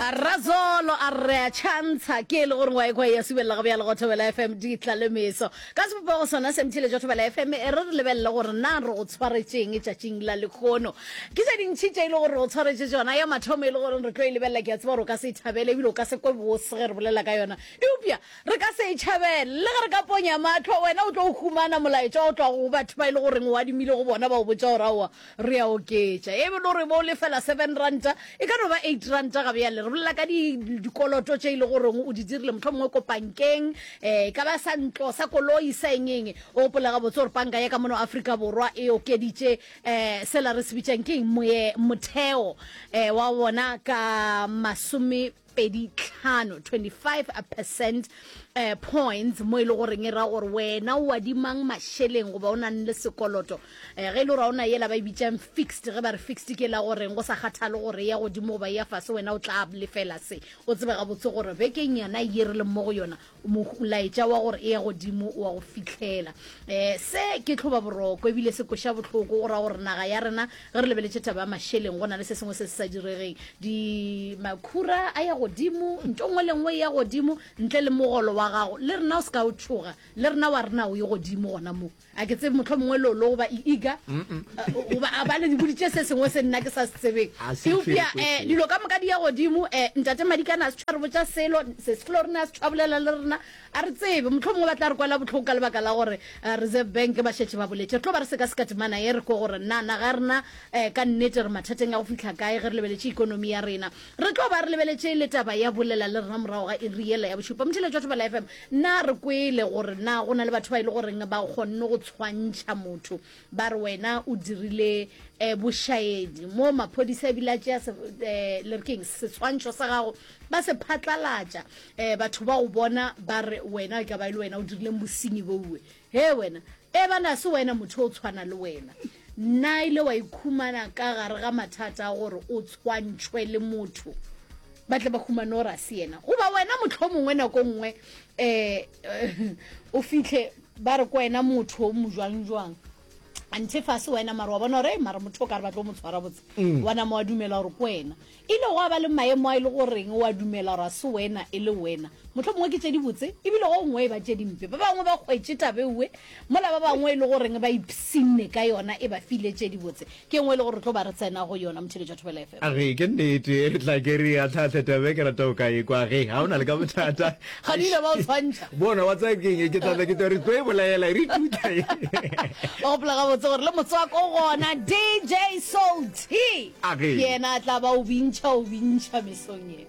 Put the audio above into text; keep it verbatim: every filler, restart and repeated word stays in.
Razolo a re a tšhantsha ke e le gore wa ekwa ya subelela ga bjale go Thobela F M di tla le meso ka sebopego sona se mtheletšo Thobela F M e re re lebelele gore na re go tshwaretšeng tšatšing la lekgono. Ke tše dintšhi tše e le gore re go tshwaretše tšona. Ya mathomo e le gore re tlo e lebelela, ke a tseba gore o ka se e thabele ebile o ka se kwe bose ge re bolela ka yona, eupša re ka se e tšhabele le ge re ka ponya mahlo. Wena o tlo humana molaetša o tlogo go batho ba e le goreng o adimile go bona, ba o botša gore aowa re a oketša, e be le gore bo lefela seven ranta e ka no ba eight ranta ga bjale. Re bolela ka dikoloto tše e le goreng o di dirile mohlomongwe ko bankeng, um ka ba sa ntlo, sa koloi, sa eng eng. O gopola gabotse gore banka ya ka mono Afrika Borwa e okeditše um sela re se bitšang ke eng, motheo um wa bona ka masome pedi tlhano, twenty-five percent uh, points, mo e le goreng e ra gore wena o adimang mašeleng goba o nang le sekoloto um ge e le gore o na yela ba e bitsang fixed. Ge ba re fixed ke la goreng go sa kgathale gore ya godimo goba ya fase, wena o tla lefela se. O tsebe gabotse gore bekeng yana ye re leng mo go yona, molaetša wa gore e ya godimo wa go fihlela. Um se ke tlhoba boroko ebile se koša bohloko, go ra gore naga ya rena ge re lebeletše taba ya mašeleng go na le se sengwe se se sa diregeng. Di makhura a ya godimo, nto nngwe le nngwe e ya godimo ntle le mogolo wa gago. Le rena o se ka o tšhoga, le rena wa rena o ye godimo gona mo. A ke tsebe mohlomongwe lolo goba iiga goba a ba le di boditše se sengwe se nna ke sa se tsebeng, eupša um dilo ka moka di ya godimo. um ntate Madikana a se tshwa re botša selo se se felo, rena a se tshwa bolela le rena, a re tsebe mohlomongwe ba tla re kwela bohloko ka lebaka la gore Reserve Bank ba šetše ba boletše. Re tlo ba re sekaseka temana ye re kwe gore na naga ya rena um ka nnete re mathateng a go fihla kae ge re lebeletše ikonomi ya rena. Re tlo ba re lebeletše le taba ya bolela le rena morago ga iri yela ya bošupa. Motheletši wa Thobela F M, na re kwele gore na go na le batho ba e le goreng ba kgonne go tshwantšha motho, ba re wena o dirile um bošaedi mo maphodisa ebile a tšea le re keng setshwantšho sa gago ba se phatlalatša, um batho ba go bona ba re wena e ka ba e le wena o dirileng bosenyi boue. He wena e bana se wena motho o tshwana le wena, na ile wa ikhumana ka gare ga mathata a gore o tshwantšhwe le motho ba tle ba humane gore a se yena, goba wena mohlomongwe nako nngwe um o fihle ba re ko wena motho o mo jwang jwang anthe fase wena, mara wa bona gore mara motho o ka re ba tlo mo tshwara botse, wa nama wa dumela gore ko wena. Ile gwa ba le maemo a e le goreng wa dumela gore a se wena e le wena, mohlomongwe ke tše di botse ebile go nngwe e ba tše dimpe. Ba bangwe ba kgwetše tabeuwe mola ba bangwe e le goreng ba ipshinne ka yona e ba file tše di botse. Ke nngwe e le gore re tlo ba re tsena go yona motheletši wa Thobela F M. Ge ke nnete tla ke re atlhaatlhe tabe ke rata o ka e kwa ge ga o na le ka bothata. Ga di ile ba o tshwantšha. Bona wa tsaya keng ke tla ke tla re tlo e bolaela re tutla. O gopola gabotse gore le motswako gona D J Soul T A ge. Yena a tla ba o bintšha o bintšha mesong ye.